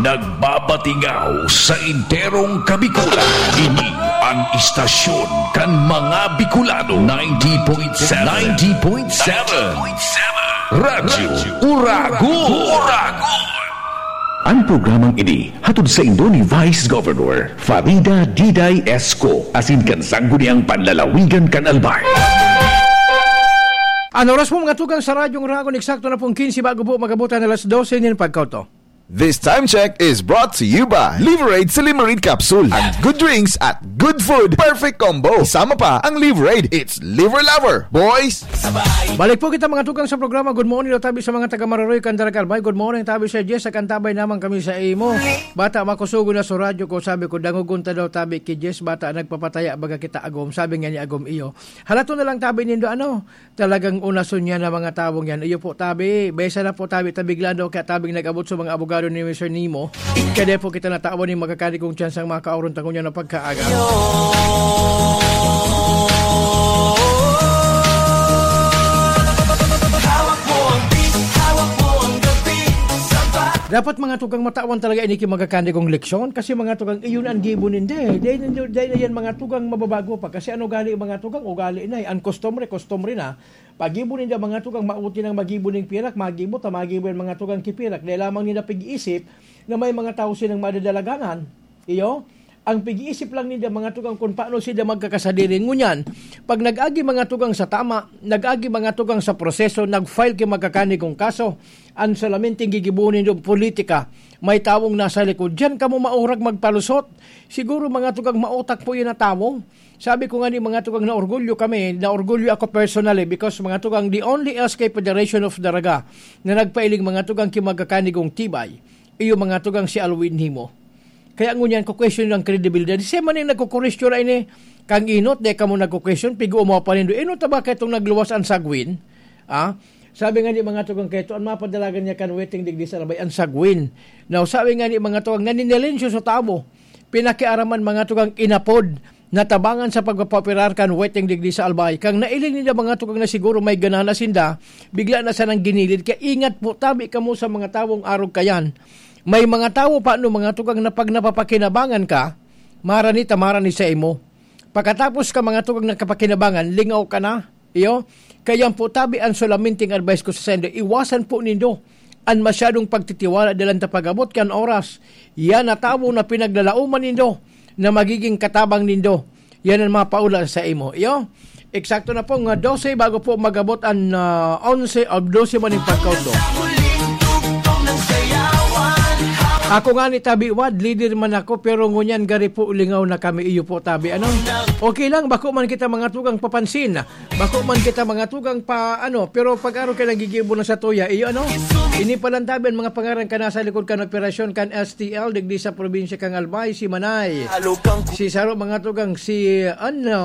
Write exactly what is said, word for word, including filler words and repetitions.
Nagbabatingaw sa enterong Kabikulan. Ini an istasyon kan mga Bicolano. Ninety point seven. Ninety point seven. Radyo Uragon. Uragon. An programang ini hatod saindo ni Vice Governor Farida Diday Esco, asin kan Sangguniang Panlalawigan kan Albay. An oras po, mga tugang, sa Radyong Uragon, eksakto na pong quince bago po mag-abot an alas dose nin pagkauto. This time check is brought to you by Liverade Silimarin Capsule. Ang good drinks at good food, perfect combo. Isama pa ang Liverade. It's Liver Lover, boys! Balik po kita, mga tugang, sa programa. Good morning daw tabi sa mga taga Mararoy, Candaragal Bay. Good morning tabi sa Jess, sa kantabay naman kami sa imo. Bata, makusugo na sa radyo ko, sabi ko, dangogon ta daw tabi ki Jess, bata, nagpapataya, baga kita agom. Sabi nga ni agom iyo. Halato na lang tabi nindo, ano, talagang unason niya na mga tawong yan. Iyo po, tabi, besa na po tabi, tabiglan daw, kaya tabing nag-abot sa mga abogado ni Mister Nemo. Kaya di po kita natawan ni magkakadigong tsansang makaoron tangon niya na pagkaaga. Dapat, mga tugang, matawan talaga ini ki magkakadigong leksyon kasi, mga tugang, iyon ang gibo ninda eh. Dahil, dahil na yan, mga tugang, mababago pa. Kasi ano gali, mga tugang, ugali na eh. Ang kostumbre, kostumbre na. Pagibo ninda, mga tugang, maoti nang magibo ning pirak, magibo ta, magibo yan, mga tugang, ki pirak. Dahil lamang ninda pig-iisip na may mga tao silang madadalaganan. Iyo, ang pig-iisip lang ninda, mga tugang, kung paano sila magkakasadiri. Ngunyan, pag nag-agi, mga tugang, sa tama, nag-agi, mga tugang, sa proseso, nag-file ki magkakadigong kaso, ang solamente gigibohon nindo politika, may tawong nasa likod. Diyan kamo maurag magpalusot. Siguro, mga tugang, mautak po yan na tawo. Sabi ko nga ni, mga tugang, na orgulyo kami, na orgulyo ako personally because, mga tugang, the only S K Federation of Daraga na nagpailing, mga tugang, ki magkakadigong tibay, iyo, mga tugang, si Alwin Nimo. Kaya ngunyan ko question ang kredibilidad. Siya man yung nagkukuristyo na ini. Kang inot, di ka mo nagkukwestiyon, pigo mo pa nindo. Inot na ba kayo itong nagluwas ang sagwin? Ah? Sabi nga ni, mga tugang, kayo, ang mapadalagan niya kan waiting digdi sa labay, ang sagwin. Now, sabi nga ni, mga tugang, naninilensyo sa tabo. Pinakiaraman, mga tugang, inapod, natabangan sa pagpapaoperar kan waiting digdi sa Albay. Kang nailing ninda, mga tugang, na siguro may ganana sinda, bigla na sanang ginilid. Kaya ingat po, tabi kamo sa mga tawong arog kayan. May mga tawo pa, no, mga tugang, na pag napapakinabangan ka, marani ta marani sa imo. Pagkatapos ka, mga tugang, nakapakinabangan, lingaw ka na. Iyo, kaya po, tabi, ang solaminting advice ko sa sendo, iwasan po nindo an masyadong pagtitiwala dalan ta pag-abot kan oras. Yan na tawo na pinaglalaoman nindo na magiging katabang nindo. Yan ang mapaula sa imo. Iyo, eksakto na po nga dose bago po magabot an, ah, onse o dose man yung pagkautlo. Ako nga ni tabi, Wad, leader man ako, pero ngunyan gari po lingaw na kami, iyo po, tabi, ano? Okay lang, bako man kita, mga tugang, papansin. Bako man kita, mga tugang, pa, ano, pero pag araw ka nagigibo na sa tuya, iyo, ano? Ini palang tabi ang mga pangaran ka nasa likod kan operasyon kan S T L, digdi sa probinsya kang Albay, si Manay. Si Saro, mga tugang, si, ano,